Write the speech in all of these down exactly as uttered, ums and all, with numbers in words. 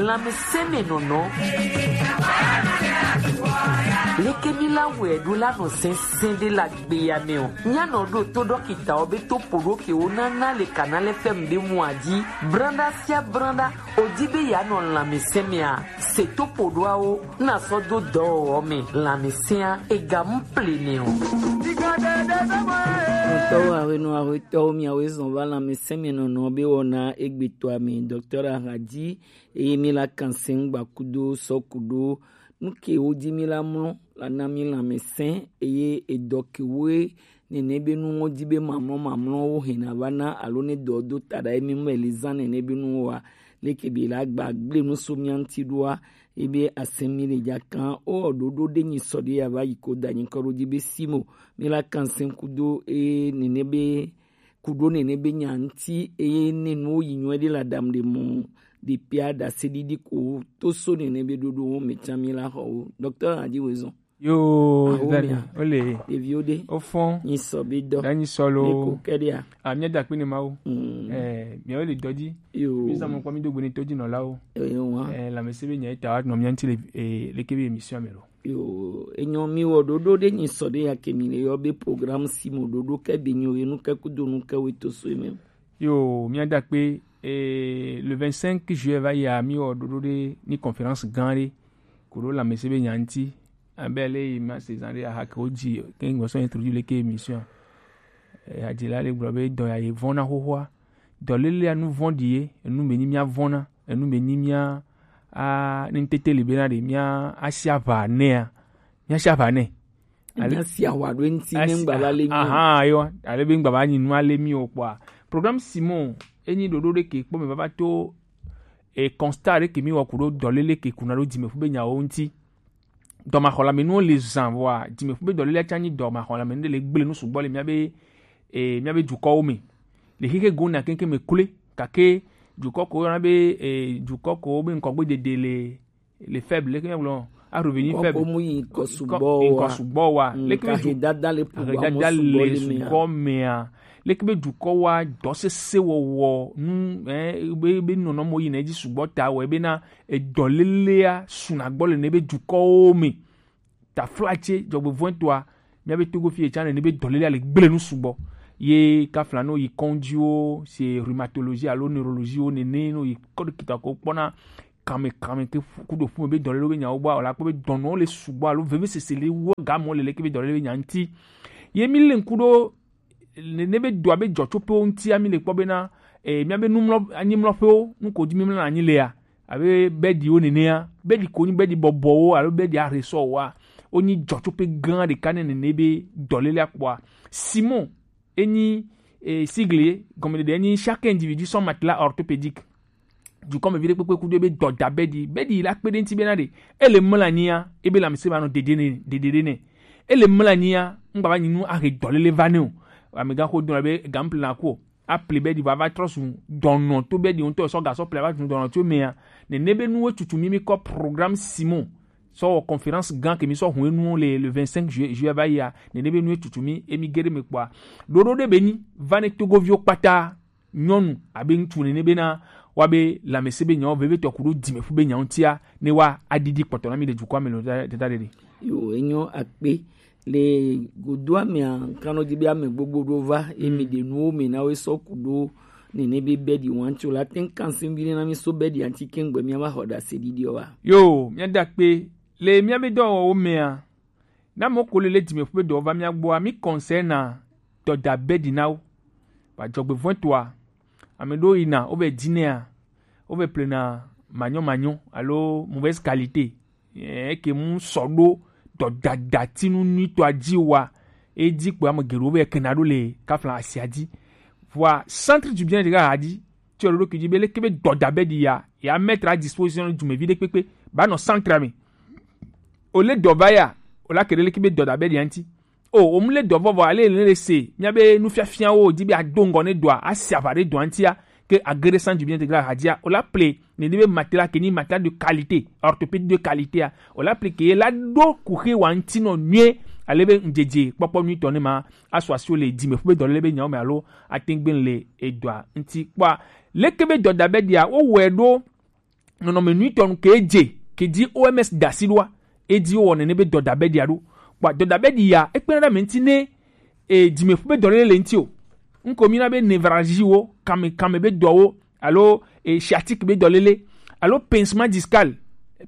Lanmɛsɛnmɛnɔnɔ. Leke mi la wɛ ɖo la nɔ sɛnsɛn ɖe la gbe ya mɛ o. Nya nɔ ɖo to ɖɔkita ɔ be to poɖo ke wo na na le kana lɛ fɛm ɖe mu aji. Branda sia branda, o di be ya nɔ lanmɛsɛn mɛ a. Se to poɖoawo na sɔ do dɔwɔwɔ mɛ lanmɛsɛn a ega mu ple nɛ o. Ŋutɔwo awenɔ awetɔwo miawoe zɔn va lanmɛsɛnmɛnɔnɔ be wɔna egbetɔa mɛ, Docteur Ahadi, eye mi la kan sɛn gba kudo sɔ kudo nu ke wo di mi la mlɔ la na mi lanmɛsɛn, eye edɔ ke woe nene be nu wo di be mamlɔ mamlɔ wo hɛn na va na alo ne dɔ do ta ɖa emi mɛ le zan nene be nu wo wa leke be la gba gble nu so mia ŋuti ɖoa, ebe asɛn mi le ja kan o ɖoɖo ɖe nyi sɔ ɖe ya va yi ko da nyi kɔ ɖo di be simo mi la kan sɛn kudo e nene be kuɖo nene be nya ŋuti eye ne nuwo yi nyuie ɖe la dam ɖe mɔ ɖe pia ɖase ɖiɖi ko to so nene be ɖoɖo wo me can mi la xɔ wo. Docteur Adi Wezɔn. Yo, awo zani mia ole ɖeviwo ɖe ofɔn nyi sɔ be dɔ danyi sɔlo ne ko kɛɖea amia da kpe ne mawo. Mm. Eh, miawo le dɔdzi yo mi zan mo kwa mi do gbene tɔdzi nɔlawo. Eyo wa eh, lamɛsɛ be nya eta wa nɔ mia ŋuti le eh, leke be émission me lo. Yo, enyɔ mi wɔ ɖoɖo ɖe nyi sɔ ɖe ya ke mi le yɔ be programme si mo ɖoɖo ke be nyo ye nu ke kudo nu ke we to so me. Yo, mia da kpe eh, le vingt-cinq juillet va ya mi wɔ ɖoɖo ɖe ni conférence gan ɖe ko ɖo lanmɛsɛ be nya ŋuti abe le yi ma se zan ɖe aha ke wo dzi ke ŋgɔ sɔ introduire leke émission. Eh, adzila le gblɔ be dɔ ya ye vɔn na xoxoa. Dɔlélea nu vɔ̃ɖi ye, enu be nyi mía vɔ̃na, enu be nyi mía a ne ŋutete li bena ɖe mía asi aʋa nɛa, mía asi aʋa nɛ. Ale asi awa ɖo eŋuti ne ŋgba va le mi o. Ahan, yo, ale be ŋgba va nyi nu ale mi o kpɔa. Programme Simon enyi ɖoɖo ɖe ke kpɔ me vava to e constat ɖe ke mi wɔ ku ɖo dɔlele ke kuna ɖo dzimeƒu be nyawo ŋuti. Dɔmaxɔlame nuwo le zan vɔa dzimeƒu be dɔlele atsa nyi dɔmaxɔlame nu ɖe le gble nu sugbɔ le mía be e mía be dukɔwo me. Le xexe go na keŋkeŋ me kloe, gake dukɔ ko yɔna be e dukɔ ko be ŋkɔgbe dede le le faible, leke míagblɔ, a revenu faible. Kɔkɔ mu yi ŋkɔ sugbɔ wa. Ŋkɔ sugbɔ wa. Mm, leke be du- dada le ƒo ahedada le sugbɔ mea. Leke be dukɔ wa dɔ sese wɔwɔ nu eh be be nɔnɔ mo yi na edzi sugbɔ ta wɔ ebe na edɔlelea suna gbɔ le ne be dukɔwo me. Taflatse dzɔgbevɔ̃etɔa, míabe Togo fie tsã nene be dɔlélea le gblẽ nu sugbɔ. Ye kafla no yi kɔndziwo, se rhumatologie alo neurologie wo nene no yi kɔɖe kita ko kpɔna kame kame ke ku ɖo ƒume be dɔlélewo be nyawo gbɔ, wòle akpɔ be dɔnɔwo le sugbɔ alo vevesese le wɔ gamɔ le leke be dɔléle be nya ŋuti. Ye mi le ŋku ɖo nene be dɔa be dzɔtsoƒewo ŋutia mi le kpɔ bena eh, míabe numlɔ anyimlɔƒewo nu ko dzi mi mlɔna anyi lea abe bɛɖiwo nenea, bɛɖi ko nyi bɛɖi bɔbɔwo alo bɛɖi aresɔwoa, wonyi dzɔtsoƒe gã ɖeka ne nene be dɔlélea kpɔa. Simon enyi eh, sigle gɔmeɖeɖe enyi chaque individu son matelas orthopédique. Dukɔmevi ɖe kpekpe kudo ebe dɔda bɛɖi bɛɖi la kpe ɖe ŋuti bena ɖe ele mlɔ anyia ebe lãmesẽ ma nɔ dede ne dede ɖe nɛ. Ele mlɔ anyia ŋgba va nyi nu ahe dɔlele va nɛ o. Amegã xo dɔn be gample na ko aple bɛɖi va va trɔ su dɔnɔ to bɛɖi ŋutɔ sɔ gasɔ ple va su dɔnɔ tso mea. Nene be nuwo tutu mi mi kɔ programme Simon sɔ wɔ conférence gã ke mi sɔ hun enu le le vingt-cinq juillet juillet va yia. Nene be nuwo tutu mi emi geɖe me kpɔa. Ɖoɖo ɖe be nyi va ne togoviwo kpata nyɔnu abe ŋutsu nene bena woabe lãmesẽ be nyawo vevitɔ ku ɖo dzimeƒu be nyawo ŋutia ne woa aɖiɖi kpɔtɔ na mi le dukɔa me le dada ɖeɖe. Yo, enyo akpe le godoa mea kanɔ di be ame gbogbo ɖo va emi ɖe nuwo me na wo sɔ ku ɖo nene be bɛɖi wa ŋuti o la te ŋu kan si ŋu bi na mi so bɛɖi ŋuti ke ŋgbe mia va xɔ ɖase ɖiɖi wa. Yo, mia da kpe le mia be dɔwɔwɔ mea. Na mɔ ko le le dzimeƒu be dɔ va mia gbɔa mi kɔnsɛ na dɔda bɛɖi na wo. Ba dzɔgbevɔ̃etɔa ame ɖewo yina wo vɛ dinɛa wo vɛ plena manyɔ manyɔ alo mauvaise qualité. Eke mu sɔ ɖo dɔdadatinu nyuitɔa dzi wa edi kpo ame geɖewo vɛ kena ɖo le kafla asia dzi. Vɔa centre du bien de la hadi. Tso ɖoɖo kidzi be leke be dɔda be ɖi ya ya mettre à disposition dumevi ɖe kpekpe ba nɔ centre me. O le dɔ va ya o la ke ɖe leke be dɔda be ɖi ya ŋuti. O o mu le dɔ vɔvɔ ale ne le se mía be nufiafiawo di be ado ŋgɔ ne dɔa asi aʋa ɖe dɔa ŋutia ke age ɖe san du bien integral hadzia o la ple ne di be matela ke ni matela de qualité orthopédie de qualité a o la ple ke la ɖo kuxe wa ŋuti nɔ nyuie ale be ŋdzedze kpɔkpɔ nyuitɔ ne ma asu asi wo le dzime ƒu be dɔ le be nyawo me alo ate ŋu gbe le edɔa ŋuti kpɔa. Leke be dɔda be ɖia wowɔe ɖo nɔnɔme nyuitɔ nu ke je ke ji O M S da asi ɖoa, e ji wowɔ nene be dɔdabɛɖia ɖo. Kpɔ dɔdabɛɖia, e kpena ɖe ame ŋuti ne e, dzimeƒu be dɔlele le ŋuti o. Ŋkɔ mi na be névralgie wo, kame kame be dɔwo, alo e, sciatique be dɔlele, alo pincement discal.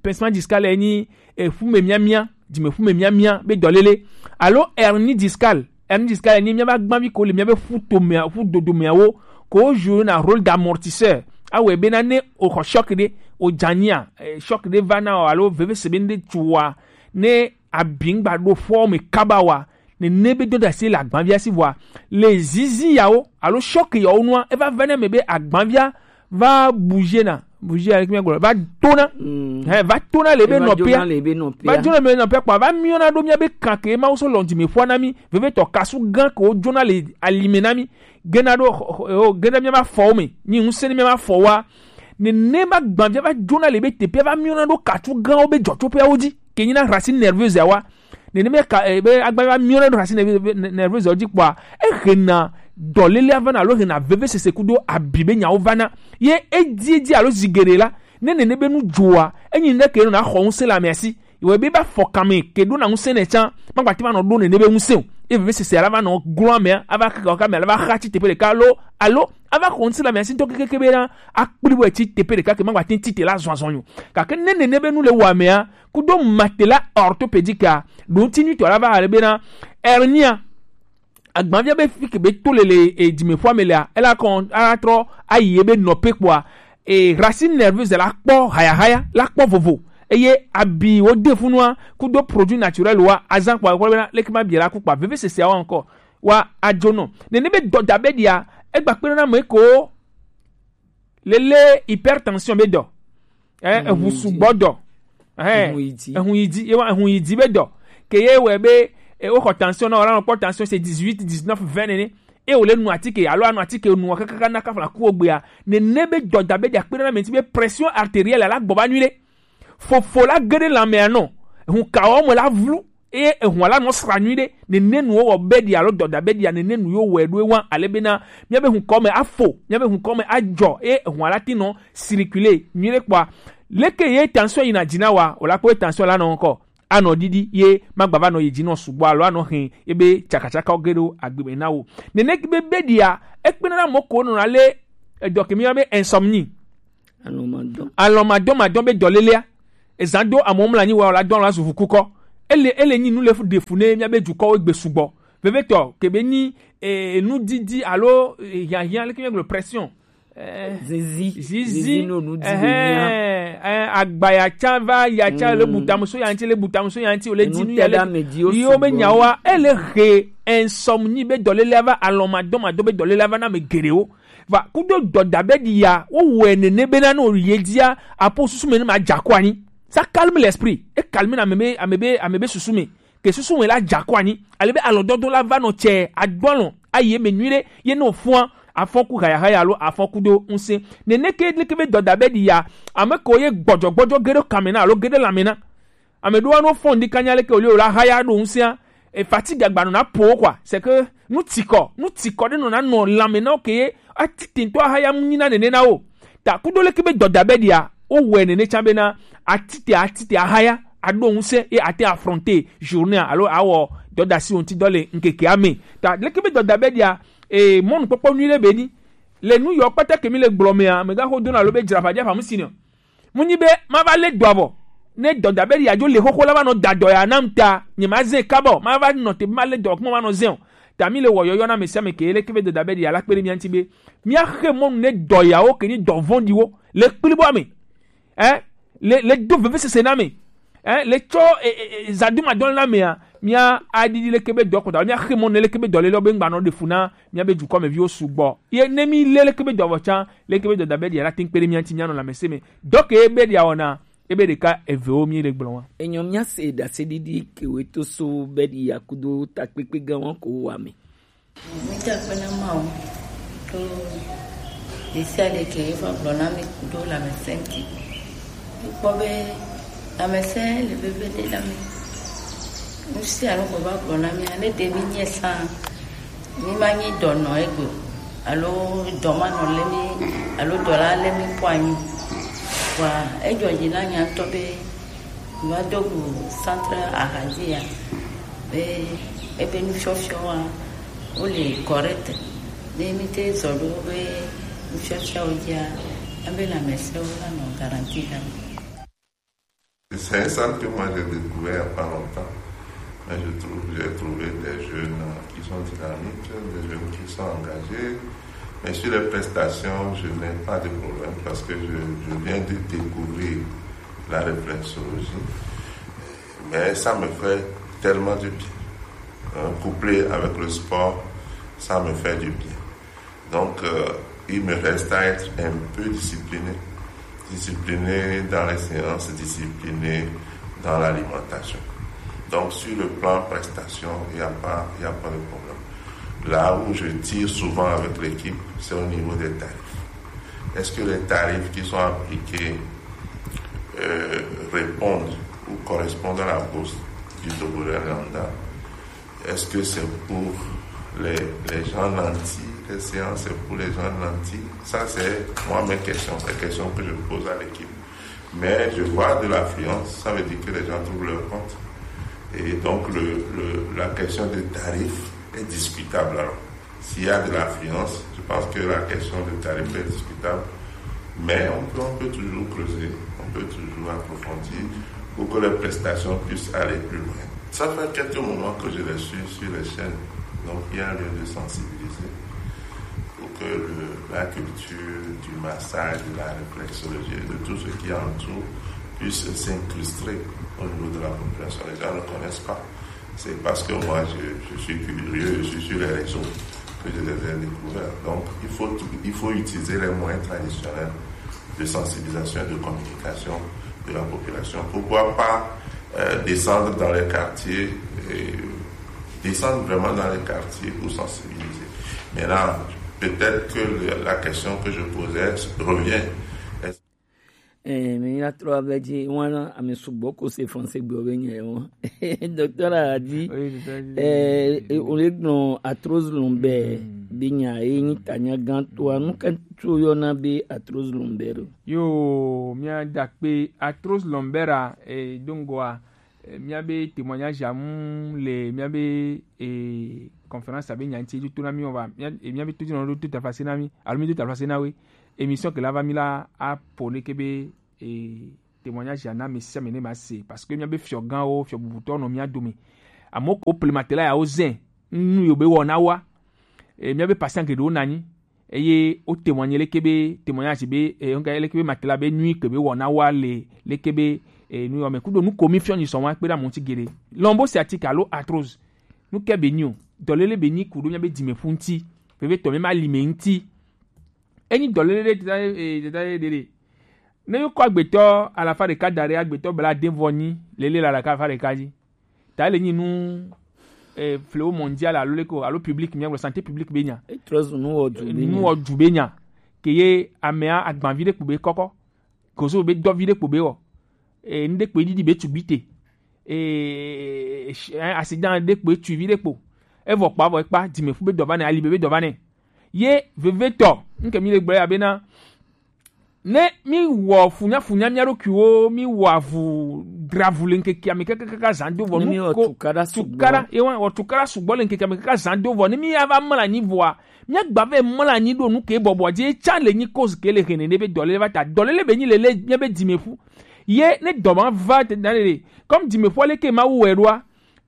Pincement discal e nyi e, ƒume miamia, dzimeƒume miamia be dɔlele, alo hernie discal. Hernie discal e nyi miabe agbavi ko le miabe ƒutomea, ƒudodomeawo ko wo joue na rôle d'amortisseur. Awɔe bena ne o xɔ choc ɖe, o dzania, e, choc ɖe va na o alo vevese be ŋɖe tu wa, ne abi ŋgba ɖo ƒɔ me kaba wa, nene be dɔdasi le agbavia si vɔa, le zizi yawo alo choc yawo nua, eva va na me be agbavia va bouger na, bouger ya, míagblɔ, va tona. Mm. Hɛ, va tona le be nɔpia. Va dzona le be nɔpia kpɔ, va miɔna ɖo mía be kan ke Mawu so lɔn dime ƒua na mí, vevetɔ kasu gã ke wo dzona le alime na mí, gena ɖo xɔ-, xɔ-, o, gena mía ma fɔwo me, nyi ŋusẽ ne mía ma fɔwoa. Nene ma gbavia va dzona le be teƒea va miɔna ɖo katu gãwo be dzɔtsoƒeawo dzi, ke nyina racine nerveuse awa. Nene me ka, e, be agba va miɔna ɖo racine nerveuse, nerveuse dzi kpɔa, ehena dɔlele va na alo hena vevesese kudo abi be nyawo va na. Ye edzi edzi alo zi geɖe la, ne nene be nu dzoa, enyi ne ke nɔ na xɔ ŋusẽ le amea si. Iwe be ba fɔ kame ke ɖo na ŋusẽ ne tsã, magba te ma nɔ ɖo nene be ŋusẽ o. Ye vevesese la va nɔ glɔ amea, ava kaka kame la va xa tsi teƒe ɖeka alo, alo ava xɔ ŋusẽ le amea si ŋutɔ kekeke be na akpli bɔ tsi teƒe ɖeka ke magba te tsi te la zɔn azɔn nyo. Gake ne nene be nu le wɔ amea, kudo matela orthopédique a, ɖo ŋuti nyuitɔ la va ale be na hernie a, agbavia be fi ke be to le le, e, dzimeƒua me lea, ela kɔn ala trɔ ayi ebe nɔƒe kpɔa, e, racine nerveuse la kpɔ hayahaya, la kpɔ vovo. Eye abi wo de funua, kudo produit naturel wa azan kpɔa, kpɔ bena leke ma bia la ku kpa vevesesea wa encore. Wa adzo nɔ. Nene be dɔdabɛɖia, egba kpena na me ko lele hypertension be dɔ. Eh, ehu sugbɔ dɔ. Eh, ehu yi di. Ehu yi di, ye wa ehu yi di be dɔ. Ke ye wɛ be, e, wo xɔ tension na, wala nɔ kpɔ tension c'est dix-huit, dix-neuf, vingt nene. E wo le nu atike, alo anu atike nu kakaka na kafla ku ogbea. Nene be dɔdabɛɖia kpena na me ŋuti be pression artérielle la gbɔ ba nyuie ɖe. Fofo la ge ɖe lãmea nɔ. Ehu kawo me la vlu. Eye ehua la nɔ sra nyuie ɖe, nene nuwo wɔ bɛɖia alo dɔdabɛɖia, nene nu yo wɔe ɖo ewa, ale bena míabe hukɔ me afo, míabe hukɔ me adzɔ, eye ehua la ti nɔ circuler nyuie ɖe kpɔa. Leke ye tension yina dzi na wa, o la kpɔ ye tension la nɔ ŋkɔ, anɔ ɖiɖi, ye magba va nɔ yi dzi nɔ sugbɔ alo anɔ hɛn ebe tsakatsakawo ge ɖo agbe me na wo. Nene be bɛɖia, ekpena na mɔ ko nɔ na le edɔ ke mi be insomnie. Alɔmadɔn. Alɔmadɔn madɔn be dɔlelea. Ezan do amewo mla anyi wa la dɔn la zu ʋukukɔ. Ele, ele nyi nu le fu ɖe fu ne míabe dukɔwo gbe sugbɔ. Vevetɔ, ke be nyi, eh, nudidi alo, eh, hiahiã, leke míagblɔ pression. Eh, zizi. Zizi. Zizi no nudidi mía. Eh, eh, agba ya tsa va, ya tsa le butamuso ya ŋuti, le butamuso ya ŋuti, o le di nu ya le. Yiwo be nyawoa, ele he insomnie be dɔlelea va, alɔmadɔn madɔn be dɔlelea va na ame geɖewo. Va kudo dɔdabɛɖia, wowɔe nene bena ne wòyi edzia, apo susu me ne madza ko anyi. Ça calme l'esprit. E calme na ame be, ame be, ame be susu me. Ke susu me la dza ko anyi. Ale be alɔdɔdɔ la va nɔ tsɛ, adɔ alɔ, ayi eme nyuie ɖe, ye ne wòfɔa, afɔ ku hayahaya alo afɔ kudo ŋusẽ. Nene ke leke be dɔdabɛɖia, ame ko ye gbɔdzɔgbɔdzɔ ge ɖe kame na alo ge ɖe lãme na. Ame ɖewo anɔ fɔn ɖi kanya leke wòle o la haya ɖo ŋusẽa. E fatigue agba nɔ na po quoi. C'est que nu tsikɔ, nu tsikɔ ɖe nɔ na nɔ lãme na wo ke ye atite ŋutɔ ahaya mu nyi na nene na wo. Ta kudo leke be dɔdabɛɖia, wowɔe nene tsã bena atite, atite ahaya, aɖo ŋusẽ ye ate affronter journée alo awɔ dɔdasi wo ŋuti dɔ le ŋkekea me. Ta leke be dɔdabɛɖia, e, mɔnukpɔkpɔ nyui ɖe be ni. Le nu yɔ kpata ke mi le gblɔ mea, megaxo dona alo be dzra ʋadia ʋamu si ne o. Mu nyi be ma va le dɔa vɔ. Ne dɔdabɛɖi ya dzo le xoxo la va nɔ da dɔ ya nam ta, nye ma zɛ kabɔ, ma va nɔ te ma le dɔ kuma ma nɔ zɛ o. Ta mi le wɔ yɔyɔ na ame sia ame ke leke be dɔdabɛɖi ya la kpe ɖe mia ŋuti be mia xe mɔnu ne dɔ yawo ke nyi dɔ vɔ̃ɖiwo le kpli bɔ ame. Eh, le, le do vevesese na ame. Eh, le tsɔ, eh, eh, eh, zadumadɔn la mea, mia aɖiɖi leke be dɔ kɔta, mia xe mɔnu ne leke be dɔ le lɔ be ŋgba nɔ ɖe fu na mia be dukɔ me viwo sugbɔ. Ye ne mi le leke be dɔ vɔ tsã, leke be dɔdabɛɖi ya la te ŋu kpe ɖe mia ŋuti mia nɔ lãmesẽ me. Dɔ ke be ɖia wɔna, ebe ɖeka evewo mi le gblɔ wa. Enyɔ mia se ɖaseɖiɖi ke we to so be ɖi ya kudo takpekpe gã wa ko wa me. Mi da akpe na Mawu to ɖesiaɖe ke eva gblɔ na mi kudo lãmesẽ ŋuti. Mikpɔ be lãmesẽ le veve ɖe na mi. Nu sia nu ko va gblɔ na mi, ne ɖe mi nye sã, mi ma nyi dɔ nɔ egbe o, alo dɔ ma nɔ lé mi, alo dɔ la lé mi kpɔ anyi o. Edzo dzi na nya ŋutɔ be va do go centre ahadzia be ebe nufiɔfiɔwoa wole correct. Ne mi te zɔ ɖo wobe nufiɔfiawo dzia, ebe lãmesẽwo la nɔ garanti la me. C'est un centre que moi j'ai découvert il n'y a pas longtemps. Mais je trouve, j'ai trouvé des jeunes qui sont dynamiques, des jeunes qui sont engagés. Mais sur les prestations, je n'ai pas de problème parce que je, je viens de découvrir la réflexologie. Mais ça me fait tellement du bien. Hein, couplé avec le sport, ça me fait du bien. Donc, euh, il me reste à être un peu discipliné. Discipliné dans les séances, discipliné dans l'alimentation. Donc, sur le plan prestation, il n'y a pas, il n'y a pas de problème. Là où je tire souvent avec l'équipe, c'est au niveau des tarifs. Est-ce que les tarifs qui sont appliqués euh, répondent ou correspondent à la bourse du Togolais lambda? Est-ce que c'est pour les, les gens nantis, les séances, c'est pour les gens nantis? Ça, c'est moi mes questions, les questions que je pose à l'équipe. Mais je vois de l'affluence, ça veut dire que les gens trouvent leur compte. Et donc, le, le, la question des tarifs est discutable. Alors, s'il y a de l'affluence, je pense que la question des tarifs est discutable. Mais on peut, on peut toujours creuser, on peut toujours approfondir pour que les prestations puissent aller plus loin. Ça fait quelques moments que je les suis sur les chaînes. Donc, il y a lieu de sensibiliser pour que le, la culture du massage, de la réflexologie, de tout ce qui entoure puisse s'incruster au niveau de la population. Les gens ne connaissent pas. C'est parce que moi, je, je suis curieux, je suis sur les réseaux que je les ai découverts. Donc, il faut, il faut utiliser les moyens traditionnels de sensibilisation et de communication de la population. Pourquoi pas euh, descendre dans les quartiers, et descendre vraiment dans les quartiers pour sensibiliser. Maintenant, peut-être que le- la question que je posais revient. Est-ce Eh, mi la trɔ ave dzi wana ame sugbɔ ko se français gbe be nya wo. Docteur a dit, eh, eh, on est non arthrose lombaire. Be nya e ni tanya gan to anu kan to yo na be arthrose lombaire. Yo, mia dakpe arthrose lombaire, eh, dongoa, eh, mia be témoignage amu le mia be, eh, conférence abe nya nti to na mi o ba. Mia, eh, mia be to di no to ta fasi na mi. Alo mi to ta fasi na we. Émission ke la va mi la a pone ke be, eh, témoignage ya na mi sia mi ne ma se. Parce que mia be fiɔ gan o, fiɔ bubutɔ no mia do mi. Amo ko plematela ya o zen. Nu yo be wo na wa. Eh, mia be patient ke do na ni. Eye wo témoigner leke be témoignage be, eh, nka leke be matela be nui ke be wɔna wa le leke be, eh, nu yɔ me kudo nu ko mi fiɔ ni sɔn wa kpe da mo ti gele. Lombo sciatique alo arthrose. Nu ke be ni o. Dɔlele be ni kudo mia be dime fu nti. Veve tɔ mi ma li me nti. Enyi dɔlele de teta, eh, teta de de. Ne yo kɔ agbetɔ alafa ɖeka da ɖe agbetɔ bla de vɔ ni lele la ɖeka alafa ɖeka dzi. Ta ele nyi nu, eh, fléau mondial alo leke o, alo public, mia gblɔ santé publique be nya. Etrɔ zu nu wɔ du be nya. Nu wɔ du be nya. Ke ye amea agbanvi ɖe kpo be kɔkɔ. Gozo be dɔvi ɖe kpo be wɔ. Eh, nu ɖe kpo ɖiɖi be tugbi te. Eh, eh, accident ɖe kpo etu vi ɖe kpo. Evɔ kpa vɔ ekpa, dimefu be dɔ va nɛ, ali be be dɔ va nɛ. Ye vevetɔ, nke mi le gblɔ ya be na, ne mi wɔ funya funya mia ɖokuiwo, mi wɔ avu dravu le ŋkeke ame kakakaka zan do vɔ. Ne mi wɔ nu ko tukaɖa sugbɔ. Tukaɖa, ye wa wɔ tukaɖa sugbɔ le ŋkeke ame kaka zan do vɔ. Ne mi ya va mla anyi vɔa, mia gba vɛ mla anyi ɖo nu ke bɔbɔ dzi tsa le nyi cause ke le hene ne be dɔlele va ta. Dɔlele be nyi lele mia be dimeƒu. Ye ne dɔ ma va te da le, comme dimeƒu ale ke ma wu wɛ ɖoa,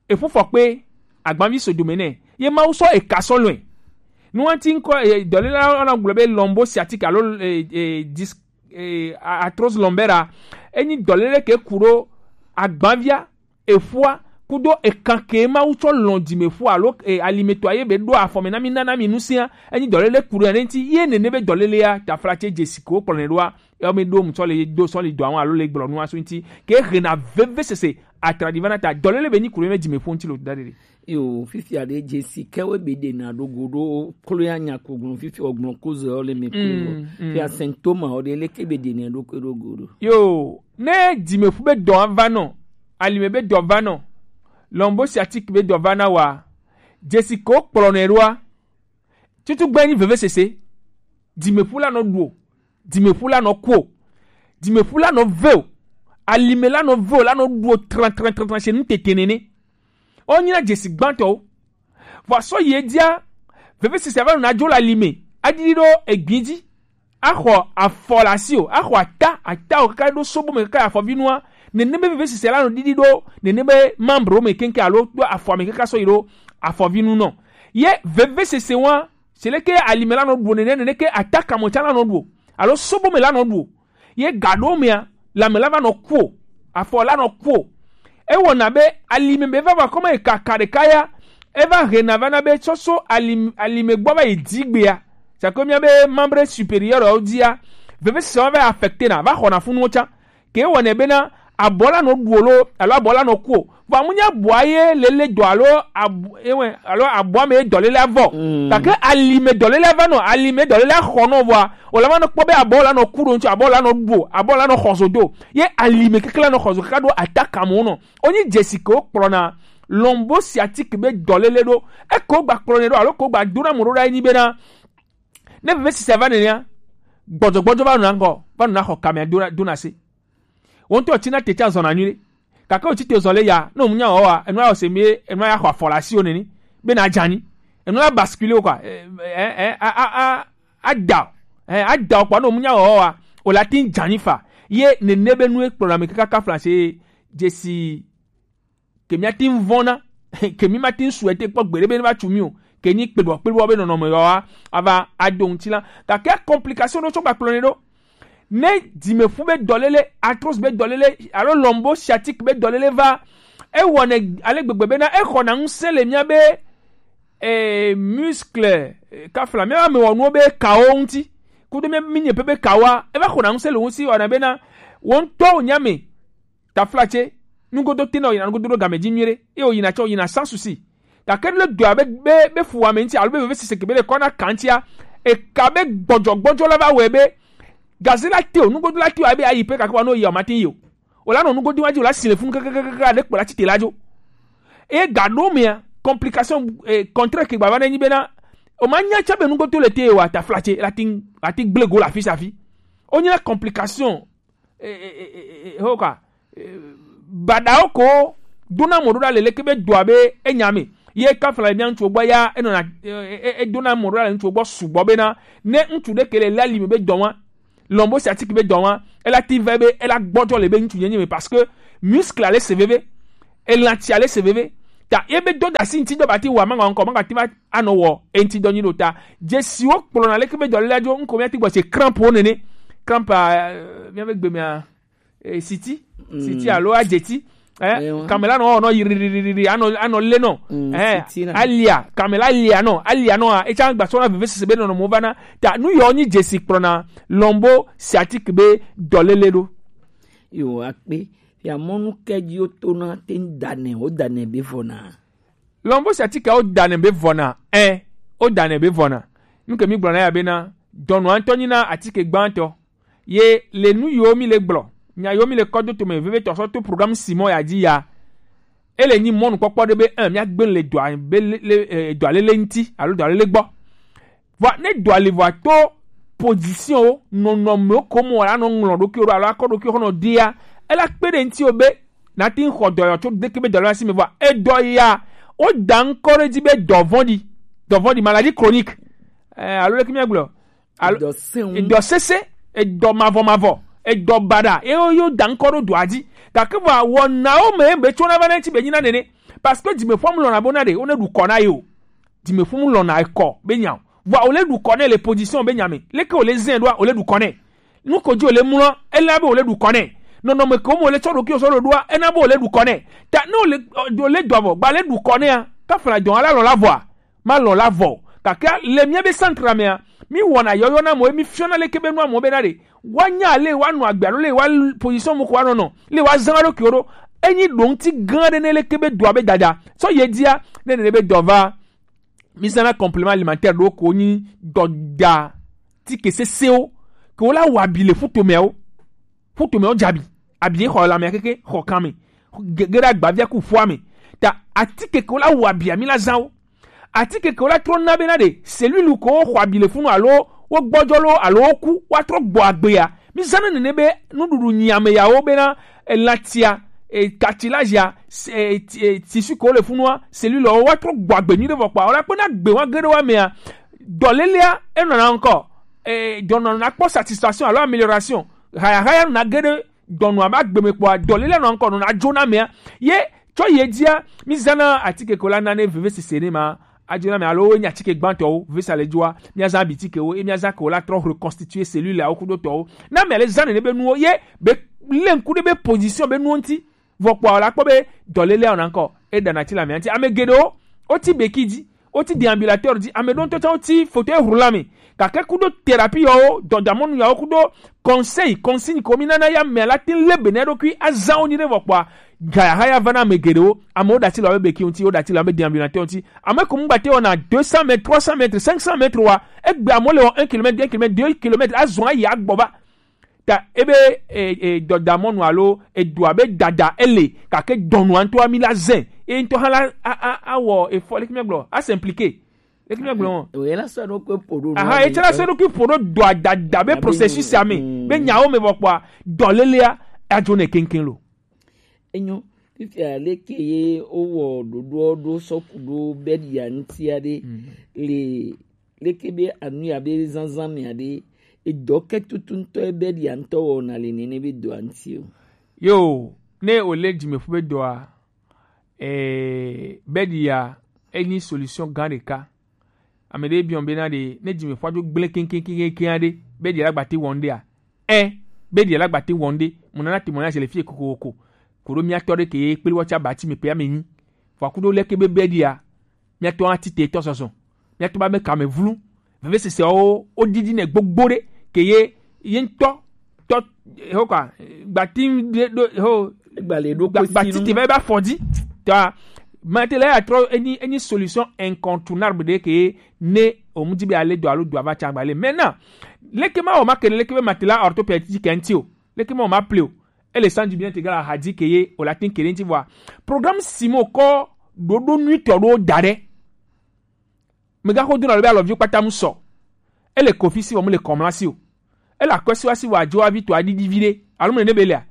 eƒu fɔ kpe agbanvi so dome nɛ. Ye Mawu sɔ eka sɔ lɔe. Nuwanti ŋkɔ, eh, dɔlele la, la gblɔ be lombo sciatique alo, eh, eh, dis-, eh, a-, arthrose lombaire. Enyi dɔlele ke ku ɖo agbanvia, eƒua, kudo ekan ke Mawu tsɔ lɔn dimeƒu alo, eh, alimetɔ ye be ɖo afɔ me na mi, na, na mi nusia. Enyi dɔlele ku ɖo ya ne ŋti, ye nene be dɔlelea, taflatse dzesi ke wo kplɔ ne ɖoa, ya mi ɖo mu tsɔ le do sɔ le dɔ awon alo le gblɔ nu aso ŋti. Ke hena veve sese, atradi va na ta. Dɔlele be nyi ku ɖo me dimeƒu ŋti lo da ɖe. Yo, fifia ɖe dzesi ke wo be ɖe na ɖo go ɖo klo ya nya ko gblɔ fifi o gblɔ ko ze o le me ko. Mm, mm. Fia symptôme o ɖe le ke be ɖe na ɖo ko ɖo go ɖo. Yo, ne dimeƒu be dɔ va nɔ, alime be dɔ va nɔ, lombo sciatique be dɔ va na wa, dzesi ke wo kplɔ ne ɖoa, tutu gbe nyi veve sese, dimeƒu la nɔ ɖu o, dimeƒu la nɔ ku o. Dimeƒu la nɔ ve o, alime la nɔ ve o, la nɔ ɖu o tran tran tran tran se nu tete nene. Wo nyina dzesi gbãtɔwo. Vɔ sɔ yi edzia, vevesese va nɔna dzo le alime, adidi ɖo egbi dzi, axɔ afɔ le asi o, axɔ ata, ata o kaka ɖo sobo me kaka afɔvinua, nene be vevesese la nɔ didi ɖo nene be membre me keŋkeŋ alo ɖo afɔ me kaka sɔ yi ɖo afɔvinu nɔ. Ye vevesese wa, se leke alime la nɔ ɖu o nene, nene ke ata kamɔ tsa la nɔ ɖu o, alo sobo me la nɔ ɖu o. Ye ga ɖewo mea, lãme la va nɔ ku o, afɔ la nɔ ku o. Ewɔna be alime be va va kɔme yi kaka ɖeka ya, eva hena va na be tsɔ so alim-, alime gbɔ va yi dzigbea, c'est que mía be membre supérieur wo dzia, vevesese wa va affecté na, va xɔna funuwo tsã. Ke wɔnɛ bena abɔ la nɔ ɖu o lo, alo abɔ la nɔ ku o. Vɔ amu nya abɔa ye lele dɔ alo ab-, ewe, alo abɔa me dɔlele avɔ. Mm. Gake alime dɔlele ava nɔ, alime dɔlele axɔ nɔ vɔa, o la va nɔ kpɔ be abɔ la nɔ ku ɖo ŋuti, abɔ la nɔ ɖu o, abɔ la nɔ xɔ zo do. Ye alime keke la nɔ xɔ zo kaka ɖo ataka mo nɔ. Onyi dzesi ke wo kplɔna lɔmbo sciatique be dɔlele ɖo. Eko gba kplɔnɛ ɖo alo ko gba dona mo ɖo ɖa enyi bena ne vevesese va nenea, gbɔdzɔgbɔdzɔ va nɔna ŋgɔ, va nɔna xɔ kamea dona, dona se. Wo ŋutɔ tsina te tsã zɔna nyuie ɖe. Gake wòtsi te zɔ le ya, ne wònya wɔwɔa, enua wɔ se mi, enua ya xɔ afɔ le asiwò nene, be na dza anyi. Enua la basculer wo kɔa, eh, eh, eh, a, a, a, ada o. Eh, ada o kpɔa, ne wònya wɔwɔa, wòle ati dza anyi fa. Ye nene be nue kplɔna mi kaka kafla se dzesi ke mi ati vɔna, ke mi mati souhaiter kpɔ gbeɖe be ne va tsu mi o, ke nyi kpebɔ, kpebɔ be nɔnɔme yɔa, ava ado ŋuti la. Gake complication ɖo tsɔ gba kplɔnɛ ɖo. Ne dzimeƒu be dɔlele, arthrose be dɔlele, alo lɔmbo sciatique be dɔlele va, ewɔnɛ ale gbegbe bena exɔna ŋusẽ le mía be, eh, muscle, eh, kafla, mía amewɔnuwo be kawo ŋuti. Kudo mía, mí nye pe be kawoa, eva xɔna ŋusẽ le wo si wɔna bena wo ŋutɔ wònya me. Taflatse, nugodo tena wòyina nugodo ɖo game dzi nyuie ɖe, eye wòyina tsɛ wòyina sans souci. Gake ne dɔa be, be, be fu wame ŋuti alo be vevesese ke be le kɔna kan ŋutia, eka be gbɔdzɔgbɔdzɔ la va wɔe be gaze la te o, nugodo la te o, abe ayi pe gake wa no yi o, mate yi o. O la nɔ nugodo wa dzi, o la si le funu kakakaka, ɖe kpo la tsi te la dzo. Eye ga ɖewo mea, complication, eh, contraire ke gbava ne nyi bena, o ma nya tsã be nugodo le te o, taflatse, la ti, la ti gble go le afi sia afi. O nyina complication, eh, eh, eh, eh, eh, ho ka, eh, baɖawo ko dona mɔ ɖo ɖa le leke be dɔa be enya me. Ye kafla mía ŋutsuwo gbɔ ya, enɔna, eh, eh, eh, edona mɔ ɖo ɖa le ŋutsuwo gbɔ sugbɔ bena, ne ŋutsu ɖe ke le la li me be dɔ wa, lɔmbo sciatique be dɔ wa, ela ti vɛ be, ela gbɔdzɔ le be ŋutsu nyenye me parce que muscle ale se veve, elãtsi ale se veve. Ta ye be dɔ da si ŋuti dɔ ba ti wa, manga ŋkɔ, manga ti va anɔ wɔ eŋti dɔ nyi ɖo ta. Dzesiwo kplɔna leke be dɔléle dzo, ŋko mía ti gbɔ se crampe wo nene. Crampe, eh, mía be gbe mea, eh, siti, mm, siti alo adzeti. Eh, ewa. Kamela nɔ, nɔ yiriri, anɔ, anɔ le nɔ. Mm, eh, siti na. Alia, kamela alia nɔ, alia nɔ, a, etsa gba sɔna vevesese be nɔnɔ mo va na. Ta nu yɔ nyi dzesi kplɔna lɔmbo sciatique be dɔléle ɖo. Yo, akpe. Ya mɔnu kɛdziwo tona te ŋ danɛ, wo danɛ be vɔna. Lɔmbo sciatique wo danɛ be vɔna, ɛ, wo danɛ be vɔna. Nu ke mi gblɔna ya bena, dɔnɔa ŋutɔ nyina atike gbãtɔ. Ye le nu yiwo mi le gblɔ, nya yiwo mi le kɔ do tome vevitɔ sɔ to programme Simon ya dzi ya. Ele nyi mɔnukpɔkpɔ ɖe be, ɛ, mía gbe le dɔa, be le, le, eh, dɔa lele ŋuti, alo dɔa lele gbɔ. Vɔa, ne dɔa li vɔa to position wo, nɔnɔme wo ko mɔ la nɔ ŋlɔ ɖokuiwo ɖo alo akɔ ɖokuiwo xɔ nɔ ɖia, ela kpe ɖe ŋuti wo be, na ti ŋ xɔ dɔyɔ tso ɖeke be dɔyɔ asi me vɔa, edɔ ya, wo da ŋkɔ ɖe dzi be dɔ vɔ̃ɖi, dɔ vɔ̃ɖi, maladie chronique, eh, alo leke mía gblɔ, alo edɔ sẽŋu, edɔ sese, edɔ mavɔ mavɔ, edɔ baɖa, ye wo, ye wo da ŋkɔ ɖo dɔa dzi. Gake vɔa, wɔnawo me be tsona va na ŋuti be nyi na nene, parce que dzimeƒom lɔna bo na ɖe, wo ne ɖu kɔ na ye o. Dzimeƒum lɔna ekɔ be nya o. Vɔa wòle ɖu kɔ nɛ le position be nya me. Leke wòle zɛ ɖoa, wòle ɖu kɔ nɛ. Nu ko dzi wòle mlɔ, ela be wòle ɖu kɔ nɛ. Nɔnɔme ko me wòle tsɔ ɖokuiwo sɔ ɖo ɖoa, ena be wòle ɖu kɔ nɛ. Ta ne wòle, ɔ, wòle dɔ avɔ, gba le ɖu kɔ nɛa, kafla dɔ ala lɔ la vɔa, ma lɔ la vɔ. Gake le mía be centre mea, mi wɔna yɔyɔ na mɔ, mi fiɔna leke be nua mɔ be na ɖe. Woanya le woanɔ agbe alo le woa position mo ko woanɔ nɔ, le woazã ɖokuiwo ɖo. Enyi ɖoŋti gã ɖe ne leke be dɔa be dada. Sɔ ye dia, ne nene be dɔ va, mi zãna complément alimentaire ɖewo ko nyi dɔda tike sesewo ke wola wɔ abi le ƒutomeawo. Ƒutomeawo dze abi. Abi ye xɔ lãmea keke, xɔ kan me. Ge, ge ɖe agbavia ku ƒua me. Ta atike ke wola wɔ abia mi la zã wo. Atike ke wola trɔ na bena ɖe cellule ko xɔ abi le funu alo wo gbɔdzɔ lo alo wo ku woatrɔ gbɔ agbea, Mi zana nene be nuɖuɖu nyi ame yawo bena elatia, e, cartilage ya, e, ti- e, tissu ko le funua, cellule wo wa trɔ gbɔ agbe nyuie ɖe vɔ kpa. Wala kpena gbe wa ge ɖe wa mea. Dɔlelea enɔna ŋkɔ, e, dɔnɔna kpɔ satisfaction alo amélioration. Haya haya nɔna ge ɖe dɔnɔa ba gbe me kpɔa, dɔlelea nɔ ŋkɔ nɔna dzo na mea. Ye tsɔ ye dzia, mi zana atike ko la na ne veve sese ne ma. Adzona mɛ alo enye atike gbãtɔwo, vesa le dzoa, míazã abitikewo, eye míazã ke wo la trɔ reconstituer cellule awo kudo tɔwo. Na mɛ le zã nene be nuwo, ye be le ŋku ɖe be position be nuwo ŋuti, vɔ kpɔa la kpɔ be dɔlele awɔ na ŋkɔ, e ɖana ti le amea ŋuti. Ame geɖewo, woti beki dzi, woti déambulateur dzi, ame ɖewo ŋutɔ tsã woti fauteuil roulant me. Gake kudo thérapie yawo, dɔdamɔnu yawo kudo conseil, consigne ko mi nana ya mɛ la tin le be ne ɖokui azã wo nyi ɖe vɔ kpɔa, gayahaya va na ame geɖewo, amewo ɖe asi le wobe beki ŋuti, wo ɖe asi le wobe déambulateur ŋuti. Ame ko mu gbate wɔna deux cents mètres, trois cents mètres, cinq cents mètres wa, egbe amewo le wɔ un kilomètre, deux kilomètres, deux kilomètres, azɔ ayi agbɔ va. Ta ebe e, e, dɔdamɔnu alo edoa be dada ele, gake dɔnua ŋutɔ ami la zɛ, e ŋutɔ hã la a, a, awɔ efɔ leke míagblɔ, a s'impliquer. Leke míagblɔ wɔn? Oye la sɔ ɖo kpe po ɖo. Aha, etsɛ la sɔ ɖo kpe po ɖo doa dada be processus ame, mm, be nyawo me vɔ kpɔa, dɔlelea adzo ne keŋkeŋ lo. Enyo, fifia leke ye wowɔ ɖoɖoɔ ɖo sɔku ɖo be ɖia ŋutia ɖe, mm, le leke be anu ya be zazã mea ɖe, edɔ ke tutu ŋutɔ ebe ɖia ŋutɔ wɔna le nene be dɔa ŋuti o. Yo, ne wòle dzimeƒu be dɔa, eh, be ɖia enyi solution gã ɖeka. Ame ɖe biɔ bena ɖe, ne dzimeƒua dzo gblẽ keŋkeŋkeŋkeŋ aɖe, be ɖia la gbate wɔn ɖea? Ɛ, be ɖia la gbate wɔn ɖe. Mo nana témoignage le fie kokoko. Koɖo mía tɔ ɖe ke ye kpli wɔ tsa bati me pe ame nyi. Vɔ kuɖo leke be be ɖia, míatɔ ati te tɔ zɔzɔ. Míatɔ ba me kame vlu. Veve sese wo, wo didi ne gbogbo ɖe ke ye, ye ŋutɔ tɔ, ho kwa, gbati ɖe ɖo ho, gba le ɖo gba- gbati te va ba fɔdi. Ta mate la ya trɔ enyi, enyi solution incontournable ɖe ke ye, ne o mu di be ale do alo do ava tsa gba le. Maintenant, leke ma o ma kene leke be mate la orthopédique ŋuti o. Leke ma o ma ple o. Ele sanji bien te gara hadi ke ye o la tin kene ŋuti vɔa. Programme simo kɔ ɖoɖo nuitɔ ɖo da ɖe. Megaxo do na lo be alɔvi kpata mu sɔ. Ele kofi si vɔ mu le kɔmla si o. Ele akɔsiwa si vɔ adzo avi to adidi vi ɖe. Alo mu ne be lea.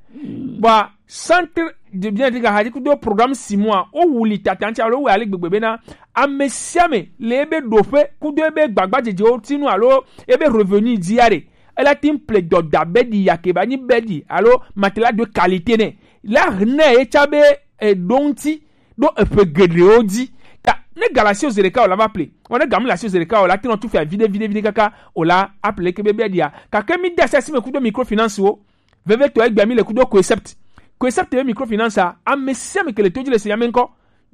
Bɔa centre de bien de hadi kudo programme six mois o wuli tatan ti alo wɛ ale gbegbe bena ame sia ame le ebe ɖoƒe kudo ebe gbagba dzedzewo tinu alo ebe revenu dzi ya ɖe. Ela tin ple dɔ da be ɖi yake ba nyi be ɖi alo matelas de qualité ne. La ne etsa be eɖo ŋuti ɖo eƒe geɖewo dzi. Ta ne ga le asiwò zi ɖeka o la va ple. Vɔ ne ga mu le asiwò zi ɖeka o la, te nɔ tu fia viɖe, viɖe, viɖe kaka o la aple leke be be ɖia. Gake mi de asi asi me kudo microfinance wo. Vevitɔ egbea mi le kudo Coecept. Coecept be microfinance a, ame sia ame ke le to dzi le se ya me ŋkɔ.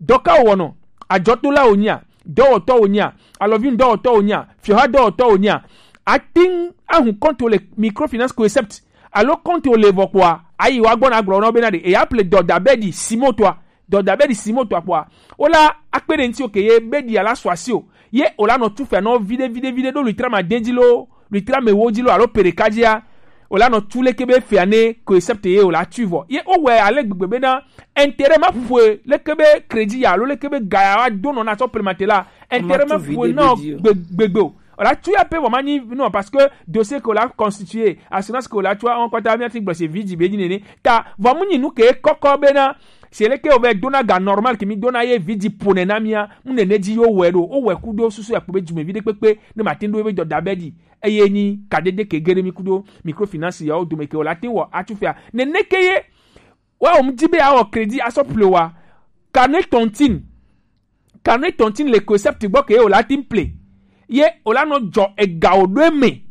Dɔ ka wòwɔnɔ? Adzɔdola wònyea? Dɔwɔtɔ wònyea? Alɔvi dɔwɔtɔ wònyea? Fiɔha dɔwɔtɔ wònyea? Ate ŋu ahu kɔnto le microfinance Coecept. Alo kɔnto le vɔ kpɔa, ayi wa gbɔna gblɔ nɔ bena ɖe eya ple dɔda be ɖi simo toa, dɔda be ɖi simo toa kpɔa, wola akpe ɖe ŋuti oke ye be ɖi ala sɔ asi o, ye wola nɔ tu fia nɔ viɖe viɖe viɖe ɖo luitra ma dɛn dzi lo, luitra me wo dzi lo alo peɖeka dzia, wola nɔ tu leke be fia ne Coecept ye wola tu vɔ ye wowɛ ale gbegbe bena intérêt ma ƒoe leke be crédit ya alo leke be ga ya wa do nɔ na sɔ plemate la, intérêt ma ƒoe na gbegbe o. Wòla tu ya pe vɔ ma nyi non parce que dossier ke wòla constitué, assurance ke wòla tu awon kpata mi ati gblɔ se vidzi be nyi nene. Ta vɔ mu nyi nu ke kɔkɔ bena se leke wo be dona ga normal ke mi dona ye vidzi pone na mia mu nene dzi yo wɛ ɖo o wɛ kudo susu ya kpo be dzume vi ɖe kpekpe ne ma tin ɖo be dɔda be ɖi eye nyi kadede ke gere mi kudo microfinance ya wo dome ke wòla tin wɔ atu fia nene ke ye wa wo mu di be awɔ crédit asɔ ple wa carnet tontine. Carnet tontine le Coecept gbɔ ke ye wòla tin ple. Ye wòla nɔ dzɔ ega wò ɖo eme.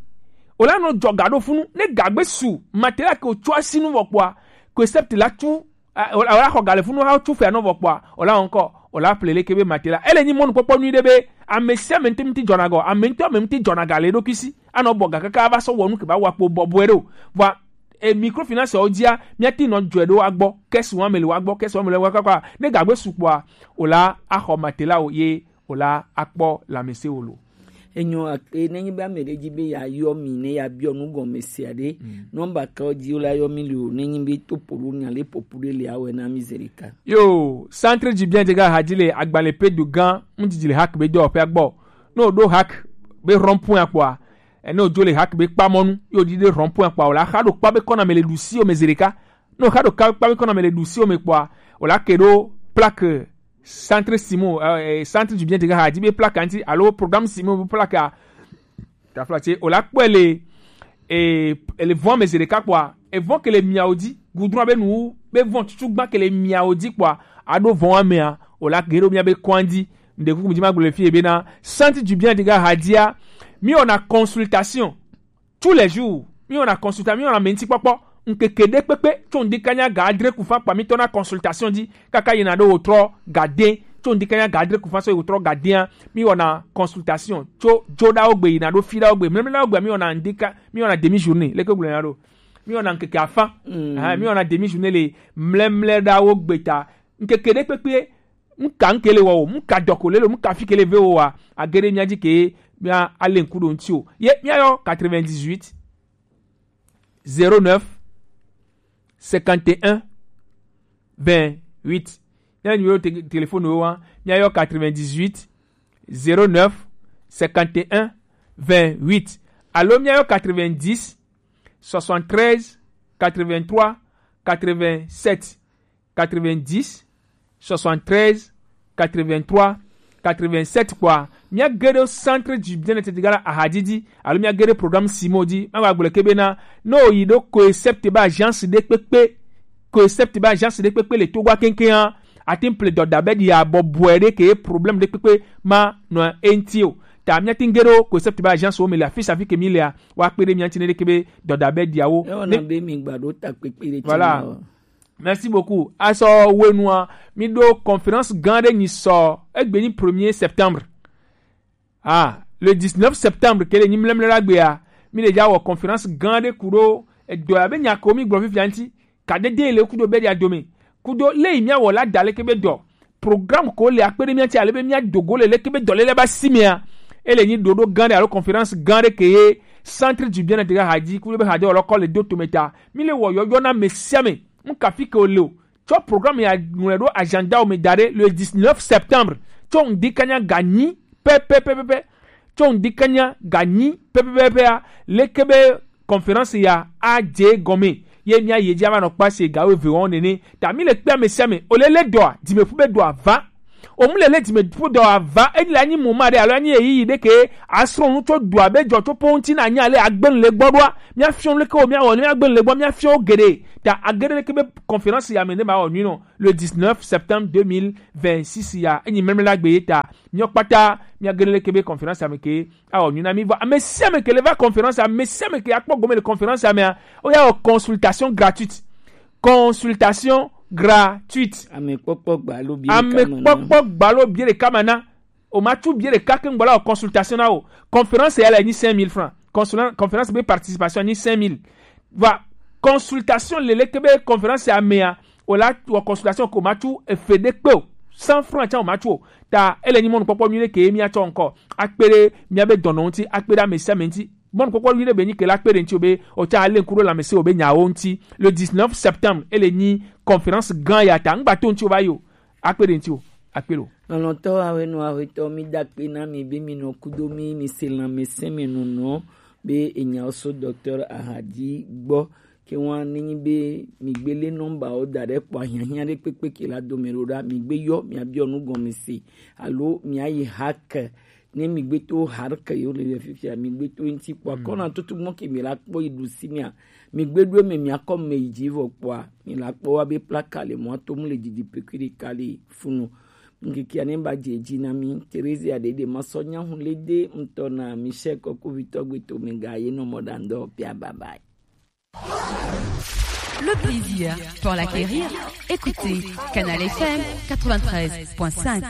Wòla nɔ dzɔ ga ɖo funu. Ne gagbe su, matela ke wòtso asi nu vɔ kpɔa, Coecept la tu, a, wòla, wòla xɔ ga le funu ha tu fea nɔ vɔ kpɔa, wòla ŋkɔ, wòla ple leke be matela. Ele nyi mɔnukpɔkpɔ nyui ɖe be, ame sia ame ŋuti ŋuti dzɔna gɔ, ame ŋutɔ ame ŋuti dzɔna ga le eɖokui si. Anɔ bɔ ga kaka ava sɔ wɔ nu ke ba wa kpo bɔbɔe ɖo. Vɔa, e microfinance wo dzia, míate nɔ dzɔe ɖo wa gbɔ, caisse wa me le wa gbɔ, caisse wa me le wa kaka. Ne gagbe su kpɔa, wòla axɔ matela wo ye wòla akpɔ lãmesẽ wo lo. Enyo akpe ne nyi be ame ɖe dzi be ya yɔ mi ne ya biɔ nu gɔme sia ɖe. Mm. Nɔmba ka wo dzi wo la yɔ mi le o ne nyi be to ƒo ɖo nya le ƒoƒu ɖe le awɛ na mi zi ɖeka. Yo, centre du bien de ga hadzi le agbalẽ pe do gã ŋdidi le hak be dɔwɔƒea gbɔ. Ne wòɖo hak be rond-point kpɔa, Ene ojo le hak be kpa mɔnu yo di de rond-point kpɔ, o la xa ɖo kpa be kɔna me le ɖusi o me zereka. No xa ɖo kpa be kɔna me le ɖusi o me kpɔ, o la ke ɖo plaque centre Simon, eh, centre du bien de ha di be plaque anti alo programme Simon be plaque a. Tafla tse o la kpɔe le, eh, le vɔn me zereka kpɔa, evɔn ke le miawo di, goudron be nu be vɔn tutu gba ke le miawo di kpɔa, aɖo vɔn amea, o la geɖo mia be kɔndi. Nde kuku mi di ma gblɔ le fie bena centre du bien de ga hadia, mi wɔna consultation tous les jours. Mi wɔna consultation, mi wɔna menti kpɔkpɔ. Nkeke ɖe kpekpe tso ŋdi kanya ga adre kufa kpa mi tɔna consultation di kaka yina ɖo wotrɔ ga de. Tso ŋdi kanya ga adre kufa so wotrɔ ga dea, mi wɔna consultation tso joɖawo gbe yina ɖo fiɖawo gbe, mlɛmlɛɖawo gbe mi wɔna ŋdi ka mi wɔna demi journée leke gblɔ ya ɖo. Mi wɔna nkeke afa. Mm. Mi wɔna demi journée le mlɛmlɛɖawo gbe ta. Nkeke ɖe kpekpe, ŋka ŋke le wɔ o, ŋka dɔ ko le lo, ŋka fi ke le ve o wa, agere mia dzi ke mia ale ŋku ɖo ŋti o. Ye mia yɔ quatre-vingt-dix-huit, zéro neuf, cinquante et un, vingt-huit. Mia numéro te-, téléphone wo wa, mia yɔ quatre-vingt-dix-huit, zéro neuf, cinquante et un, vingt-huit. Alo mia yɔ quatre-vingt-dix, soixante-treize, quatre-vingt-trois, quatre-vingt-sept. Quatre-vingt-dix, soixante-treize, quatre-vingt-trois, quatre-vingt-sept kpɔa, mia ge ɖo centre du bien-être de gala ahadidi, alo mia ge ɖo programme Simon di, ma gba gblɔ ke bena, no yi ɖo ko except ba agence ɖe kpekpe, ko except ba agence ɖe kpekpe le Togo keŋkeŋ a, ati ple dɔda be ɖi abɔ bɔe ɖe ke problème ɖe kpekpe ma nɔ enti o. Ta mia ti ge ɖo ko except ba agence wo me le afisa fi ke mi lea, wa kpe ɖe mia ti ne ɖe ke be dɔda be ɖiawo. Ewɔ na be mi gba ɖo ta kpekpe ɖe ti. Voilà. Merci beaucoup. Asɔ wenua, mi ɖo conférence gã ɖe nyi sɔ egbe nyi premier septembre. Ah, le dix-neuf septembre ke le nyi mlɛmlɛ la gbea, mi le ja wɔ conférence gã ɖe ku ɖo edɔ ya be nya ko mi gblɔ fifia ŋti. Ka dede le kudo be dia dome. Kudo le yi mia wɔ la da leke be dɔ. Programme ko le akpe ɖe mia ti ale be mia dogo le leke be dɔ le le ba si mea. Ele nyi ɖoɖo gã ɖe alo conférence gã ɖe ke ye centre du bien-être ha di kudo be ha de wɔ lɔ kɔ le do tome ta. Mi le wɔ yɔyɔ na mesiame. Ŋka fi ke o le o. Tsɔ programme ya ŋlɔe ɖo agenda wo me da ɖe le dix-neuf septembre. Tsɔ ŋdi kanya ga nyi pɛpɛpɛpɛ. Tsɔ ŋdi kanya ga nyi pɛpɛpɛpɛa. Leke be conférence ya a dze gɔme. Ye mia ye dzi ava nɔ kpa se ga wo eve wɔn nene. Ta mi le kpea mesiame. O le le dɔa, dzimeƒu be dɔa va. O mu le le dzimeƒu dɔa va. Enyi le anyi muma ɖe alo anyi eyiyi ɖe ke asrɔ̃ nu tso dɔa be dzɔ tso po ŋuti na nya le agbe le gbɔ ɖoa. Mia fiɔ leke wo mia wɔ, mia gbe le gbɔ, mia fiɔ wo geɖe. Ta agere leke be conférence ya me ne ma wɔ nyui nɔ. Le dix-neuf septembre deux mille vingt-six ya, enyi mlɛmlɛ la gbe ye ta. Miɔ kpata, mia gere leke be conférence ya me ke awɔ nyui na mi vɔ. Ame sia ame ke le va conférence, ame sia ame ke akpɔ gome le conférence ya mea, o ya wɔ consultation gratuite. Consultation gratuite. Ame kpɔkpɔ gbalo bi. Ame kpɔkpɔ gbalo bi ɖeka ma na. O ma tu bie ɖeka ke ŋgbɔ la wɔ consultation na o. Conférence ya le nyi cinq mille francs. Consulan-, conférence be participation nyi cinq mille. Va consultation le leke be conférence ya mea, o la wɔ consultation ko ma tu efe ɖe kpe o. Cent francs tsa o ma tu o. Ta ele nyi mɔnukpɔkpɔ nyui ɖe ke mia tsɔ ŋkɔ. Akpe ɖe mia be dɔnɔ ŋuti, akpe ɖe ame sia ame ŋuti. Mɔnukpɔkpɔ nyui ɖe be nyi ke la kpe ɖe ŋuti o be o tsa ale ŋku ɖo lãmesẽ o be nyawo ŋuti. Le dix-neuf septembre, ele nyi conférence gã ya ta. Ŋgba to ŋuti o va yi o. Akpe ɖe ŋuti o. Akpe lo. Lɔlɔ̃tɔ awenɔ ahetɔ, mi da akpe na mi be mi nɔ kudo mi, mi se lãmesẽ me nɔnɔ be enyawo so docteur Ahadi gbɔ. Ke wa nenyi be mi gbe le nɔmba wo da ɖe kpɔ ahiahiã ɖe kpekpe ke la dome ɖo ɖa, mi gbe yɔ, mi abiɔ nu gɔme se alo mi ayi hake. Ne mi gbe to hake yo le fifia, mi gbe to ŋuti kpɔ. Mm. Kɔna tutu gbɔ ke mi la kpɔ yi ɖusi mia. Mi gbe ɖo eme mi akɔ me yi dzi vɔ kpɔa, mi la kpɔ wa be plaka le mɔ to mu le didi pekui ɖeka le funu. Ŋkeke ane ba dze dzi na mi. Theresia ɖeɖe ma sɔ nyahu le de ŋutɔ na Michel Kɔkuvitɔ gbe to me ga ye nɔ mɔ ɖa ŋdɔ pia bye bye. Le plaisir pour l'acquérir. Écoutez Canal F M quatre-vingt-treize point cinq.